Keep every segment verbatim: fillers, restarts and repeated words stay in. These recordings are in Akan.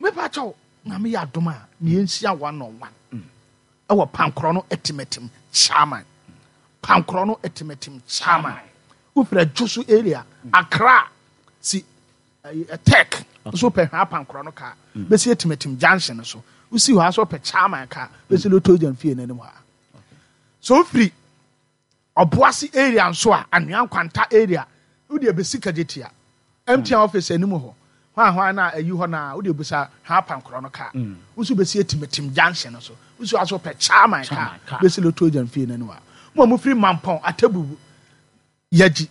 Mepa kyɛw, Nyame yɛ adom a, ne yɛnhyia one on one ɛwɔ Pankorɔ no Atimatim Chairman. Pankorɔ no Atimatim Chairman, wofiri Adwo so area, Accra si tech nso pɛ hwɛ Apankorɔ no kaa bɛsi Atimatim junction no so. Wosi hɔ a so pɛ Chairman kaa bɛsi Lotto Agent fie n'anim hɔ a. So wofiri Ɔboase area nso a, Anwea Nkwanta area, wode bɛsi Kagyetia M T N office anim hɔ hwan hwan na ayi hɔ na wode busa hwɛ Apankorɔ no kaa, woso bɛsi Atimatim junction no so. Wosi hɔ a so pɛ Chairman kaa bɛsi Lotto Agent fie n'anim hɔ a. Mo a mofiri Mampɔn, Atabubu, Yagyi,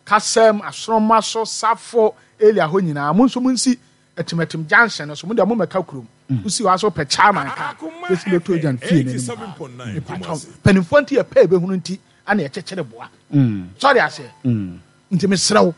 Kasɛm, Asoroma so, Safo area hɔ nyinaa, mo nso monsi Atimatim junction no so. Mo deɛ mommɛka kurom. Wosi hɔ a so pɛ Chairman kaa bɛsi Lotto Agent fie n'anim hɔ a. Mepatwɔ, mpanimfoɔ nti yɛpɛ ebɛhunu nti ana yɛkyekyere boa. Sɔre aseɛ. Nti mesrɛ wo,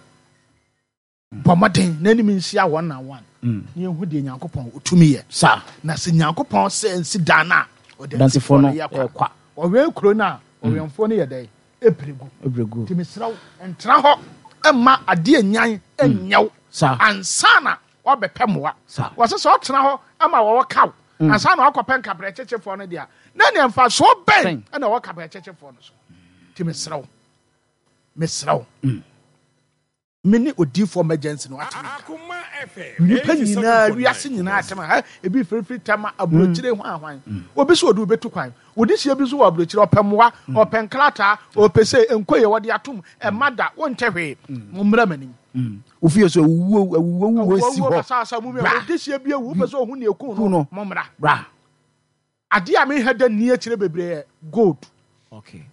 bɔ mmɔden na anim nhyia one on one na yɛhu deɛ Nyankopɔn ɔtumi yɛ. Saa. Na sɛ Nyankopɔn sɛ nsi dan no a, ɔdansifoɔ no yɛ kwa. Kwa ɔwɛn kuro no a, ɔwɛnfoɔ no yɛ dɛn? Ɛpere gu. Ɛbrɛgu. Nti mesrɛ wo, ntena hɔ ɛma adeɛ nyan ɛnyɛw Saa. ansa na wabɛpɛ mmoa. Saa. Wɔsɛ sɛ ɔtena hɔ ama wɔwɔ kaw ansa na wakɔpɛ nkabrɛ kyekyefoɔ no deɛ a, na neɛ mfasoɔ bɛn Bɛn. ɛna ɛwɔ kabrɛ kyekyefoɔ no so? Nti mesrɛ wo, mesrɛ wo, me ne odiifoɔ emergency no atena nka nnipa nyinaa, wiase nyinaa atɛm ha, ebi firifiri tɛma aburokyire ho ahwan. Obi so ɔde obetu kwan, odi hyia bi nso wɔ aburokyire, ɔpɛ mmoa, ɔpɛ nkrataa, ɔpɛ sɛ nko yɛ wɔde atom ɛma da wɔntɛ hwee. Mo mmra m'anim. Ofie so awuwo awuwo awuwo si Awuo hɔ. basabasa mu mi Bra. odi hyia bi ewu, wopɛ sɛ ohun ne ekun Kun no, no. mo mmra. Bra. Adeɛ a meha da ni akyire bebree yɛ gold. Okay,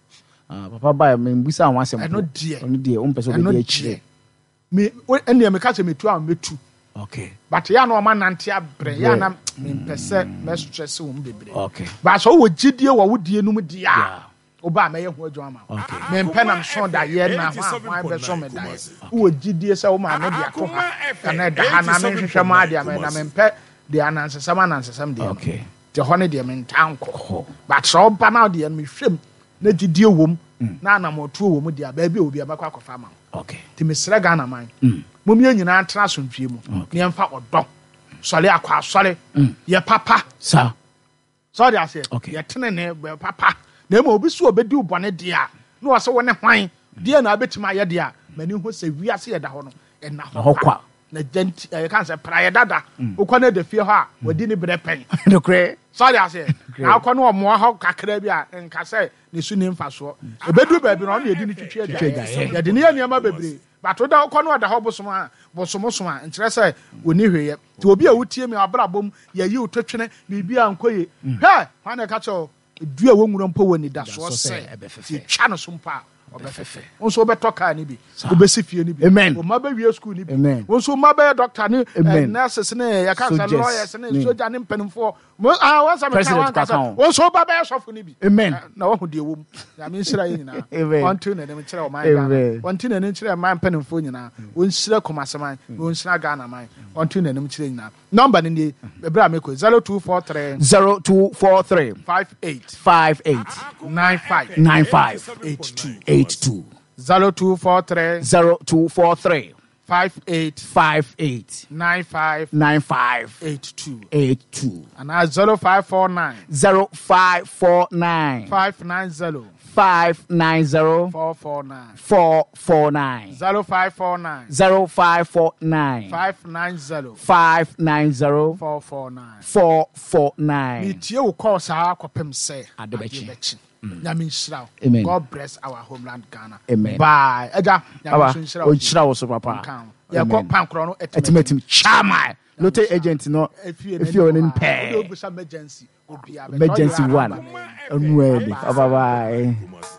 ah, papa ba me mbusa ho asɛm. Ɛno deɛ. Ɛno deɛ, wompɛ sɛ Ɛno wobɛdi akyire. deɛ, me wo- ɛnneɛ meka sɛ metu a metu. Okay but yɛ a na ɔma nante abrɛ yɛ a na mempɛ sɛ mɛstress wɔn bebree. Okay but sɛ wowɔ gyidie wɔ wo die no mu deɛ a, Yeah. woba a mɛyɛ ho adwuma ma wo. Okay. Mempɛ nam so daeɛ na ho a hwan bɛso me daeɛ. Wowɔ gyidie sɛ wo maame de ato ha ana ɛda ha na menhwehwɛ mu adeɛ ama na mempɛ deɛ anansesɛm anansesɛm deɛ no. Okay nti hɔ no deɛ mentaa nkɔ, but sɛ ɔba no deɛ no mehwɛm na gyidie wɔ mu na anammɔtuo wɔ mu deɛ a, baabi a obi a mɛkɔ akɔfa ama wo. Okay nti mesrɛ Ghana man, mom yɛn nyinaa ntena asomdwie mu na yɛmfa ɔdɔ sɔre akɔ asɔre yɛ papa. Saa. Sɛ ɔde aseɛ Okay. yɛtene ne bɛ papa na mmom obi so obɛdi wo bɔne deɛ a, na ɔsɛ wo ne hwan deɛ na abɛtumi ayɛ deɛ a, m'ani ho sɛ wiase yɛda hɔ no ɛna hɔ hɔ kwa. kwa na gya nti ɛyɛ ka sɛ praeɛ dada wokɔ no da fie hɔ a wadi ne berɛ pɛn. Nokorɛ. Sɛ ɔde aseɛ na akɔ no ɔmmoa hɔ kakra bi a, nka sɛ ne so ne mfasoɔ ɛbɛduru baabi no, ɔno yɛdi ne twitwi agyaeɛ, yɛde ne yɛ nneɛma bebree, but woda wokɔ no ɔda hɔ bosom a bosom a, nkyerɛ sɛ wɔni hweyɛ. Nti obi a wotie mi abrabɔ mu yɛyi wo totwene biribi a nkɔ ye, hwɛ hwan na ɛka kyerɛ wo dua a wɔnwura mpo wɔ nidasoɔ Nidasoɔ sɛ sɛ ɛbɛfɛfɛ. yɛtwa no so mpo a ɔbɛfɛfɛ. Wo nso wobɛtɔ kaa no bi, wobɛsi fie no bi. Amen. Wo mma bɛwie school no bi. Amen. Wo nso mma bɛyɛ doctor ne eh, Amen. nurses ne yɛka sɛ Soldiers. lawyers ne Ne. soja ne mpanimfoɔ. Mo- ah, wɔn sɛ meka President wɔn ankasa. kaka ho. Wo nso woba bɛyɛ sɔfo no bi. Amen. Eh, na wahu deɛ wɔ mu. Nyame nhyira yɛ nyinaa. Amen. Ɔnte n'anim nkyerɛ ɔman Ghana. Amen. Ɔnte n'anim nkyerɛ ɔman mpanimfoɔ nyinaa. Ɔnhyira Kumaseman na ɔnhyira Ghana man. Ɔnte n'anim nkyerɛ nyinaa. Number no nie, ɛberɛ a mekɔ, zero two four three zero two four three five eight five eight nine five nine five eight two. eight two. zero two four three zero two four three five eight five eight nine five nine five eight two. eight two. Anaa zero five four nine zero five four nine five nine zero five nine zero four four nine. four four nine. zero five four nine zero five four nine five nine zero five nine zero four four nine. four four nine. Metie wo kɔɔ saa kɔpem sɛ Ade bɛkye. Bɛkye. Nyame nhyira wo. Amen. God bless our homeland Ghana. Amen. Bye, agya. Nyame Baba, nso nhyira wo. ɔnhyira wo so papa. Nka ho. Yɛkɔ Amen. Pankorɔ no. Atimatim chairman Lotto agent no efie efie wɔ ne pɛɛ. Wode obusa emergency obiara bɛkyɛ. Emergency Ɔyera one number no. Ɔnu ɛdi. Bye bye.